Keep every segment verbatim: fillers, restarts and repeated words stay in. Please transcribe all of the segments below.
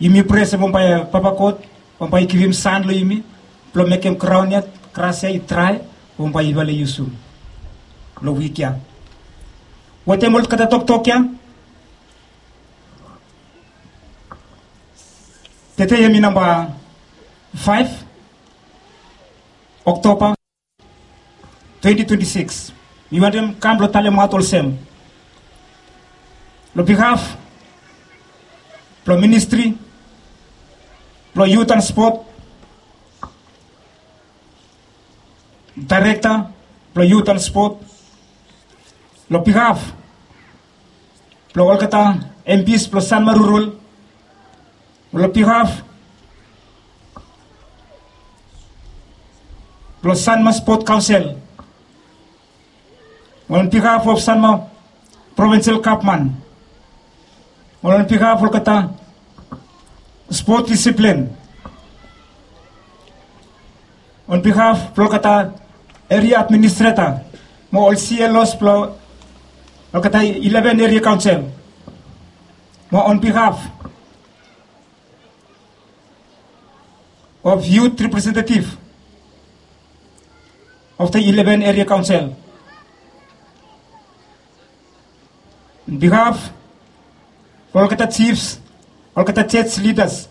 Yumi prea se bambae Papa God bambae i givim san long yumi blong mekem graon ya, gras ya i drae, bambae yufala i yusum long wik ya. Wetem olgeta toktok ya, tede hemi namba faef Oktoba twenti twenti sikis. Mi wantem kam blong talemaot olsem, long bihaf blong ministri blong yut an spot, daerekta blong yut an spot, long bihaf blong olgeta empis blong Sanma Rural, long bihaf blong Sanma Spot Kaonsel, on bihaf of Sanma Provinsel Gavman, on bihaf olgeta spot disiplin, on bihaf blong olgeta eria administreta mo ol C L Os blong olgeta ileven eria kaonsel, mo on bihaf of yut representetiv of the ileven eria kaonsel, on bihaf blong olgeta jifs, olgeta jej lidas,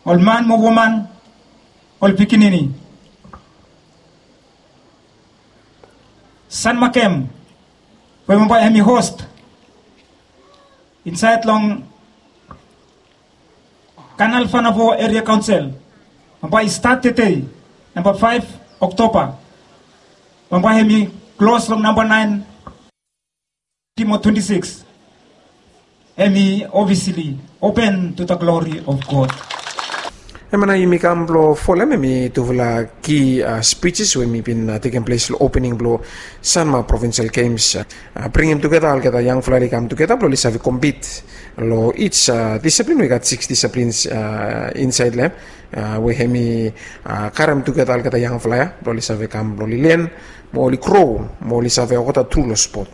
ol man mo woman, ol pikinini. Sanma kem we bambae hemi host insaed long Kanal Fanafo Eria Kaonsel, bambae i stat tede, namba faef Oktoba, bambae hemi klos long namba naen mo twenti sikis, hemi ofisili open to the glory of God. Hemia nao yumi kam blong folem hemi tufala ki spijis we hemi bin tekem ples long opening blong Sanma Provinsel Gems, bringim tugeta olgeta yangfala oli kam tugeta blong oli save kompit long ij disaplin. We i gat sikis disaplins insaed long hem, we hemi karem tugeta olgeta yangfala ya blong oli save kam blong oli len mo oli gro mo oli save olgeta tru long spot.